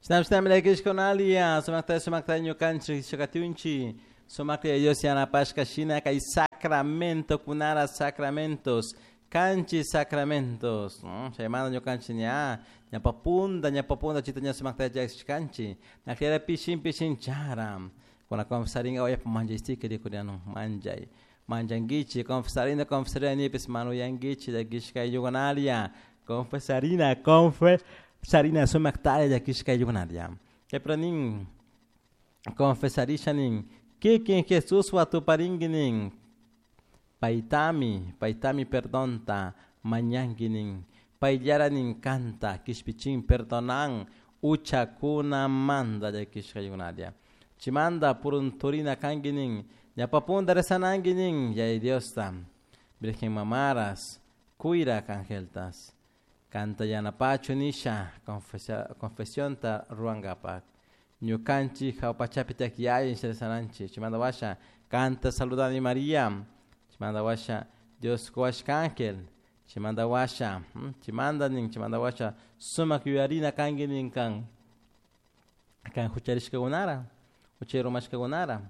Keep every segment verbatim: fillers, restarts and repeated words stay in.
Shinami llakishkunalia, sumakta sumakta ñukanchik shakatunchi, sumakta Dios yanapashka shina kay sacramento kunara sacramentos, kanchis sacramentos, chaymanta ñukanchik ña ñapapunda ñapapunda chita ña sumakta llakishkanchik, nakllera pishin pishin chara, kuna confesaringa wayapa manchaystika rikuriano manchay, manchankichik, confesarina confesarina nipis manuyankichik llakishka ayllukunalia, confesarina confesarina sumaktalla llakishka ayllukunalia. Chaypura nin confesarisha nin kikin Jesuswan tuparinki nin paytami paytami perdonta mañanki nin payllara nin kanta kishpichin perdonan uchakunamanta llakishka ayllukunalia. Chimanta purunturina kanki nin ñapapunta rezananki nin Yaya Diosta Virgen Mamaras kuyrak angeltas kanta yanapachu nisha confesionta ruwankapak ñukanchik hawpachapi tiyak yaya nisha rezananchik chimanta washa kanta saludani Maria chimanta washa Dios kuwashka ángel chimanta washa chimanta nin chimanta washa sumak yuyarina kanki nin kan kan hucharishkakunara huchay rumashkakunara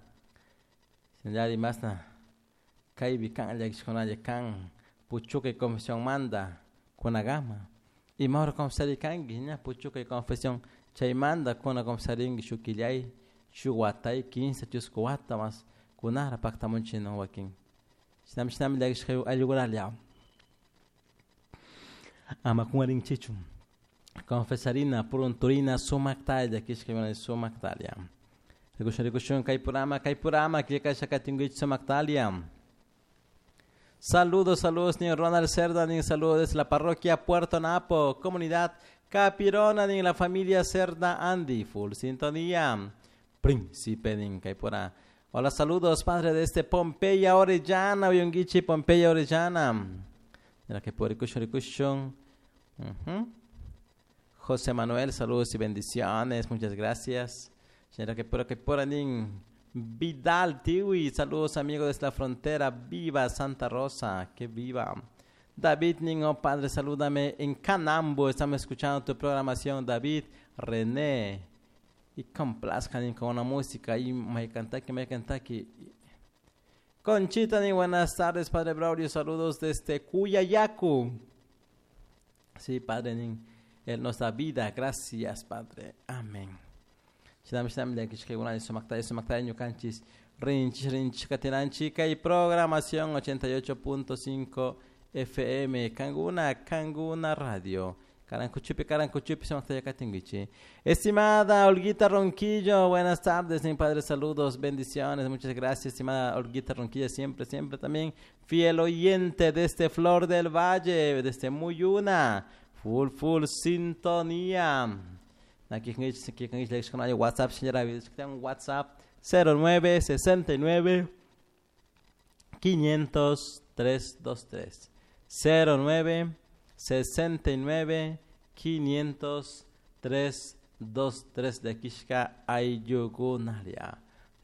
shinallari masna kaypi kan llakishkunalla kan puchukay confesionmanta kunakama ima hora confesarikanki ña puchukay confesión chaymanta kuna confesarinki shuk killay shuk watay kinsa chusku wata mas kunara paktamunchik wakin shinami shinami llakishka ayllukunalla ama kungarinchichu confesarina purunturina sumaktalla llakishka sumaktalla rikushun rikushun kay programa kay programa killkasha katinkichik sumaktalia. Saludos, saludos, ni Ronald Cerda, ni saludos desde la parroquia Puerto Napo, comunidad Capirona, ni la familia Cerda Andy, full sintonía. Príncipe nin Caipora. Hola, saludos, padre de este Pompeya Orellana, Uyunguichi Pompeya Orellana. Mira que por uh-huh. José Manuel, saludos y bendiciones, muchas gracias. Señora que por que por nin Vidal Tiwi, saludos amigos desde la frontera, viva Santa Rosa, que viva. David Niño, padre, salúdame en Canambo, estamos escuchando tu programación, David René. Y complazcan con una música y me cantaki, me cantaki. Conchita, ni buenas tardes, padre Braulio, saludos desde Cuyayacu. Sí, padre, nin, él nos da vida, gracias, padre. Amén. Shinami shinami llakishkakunalla sumaktalla sumaktalla ñukanchis rinchis rinchis katinanchik kay programación ochenta y ocho punto cinco F M Kanguna Kanguna Radio Karankuchupi Karankuchupi sumaktalla katinkichik. Estimada Olguita Ronquillo, buenas tardes, mi padre, saludos, bendiciones, muchas gracias, estimada Olguita Ronquillo, siempre, siempre también fiel oyente de este Flor del Valle, de este Muyuna, full, full sintonía. Aquí con WhatsApp, señora, WhatsApp cero nueve sesenta y nueve quinientos tres dos tres cero nueve sesenta y nueve quinientos tres dos tres de Kishka Ayugunaria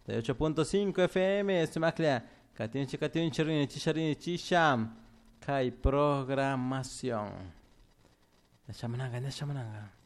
de ocho punto cinco F M, Estimaclea, Katinchi, Katinchi, Rini, Chisha, Rini, Chisha, Kai programación. Neshamananga, Neshamananga.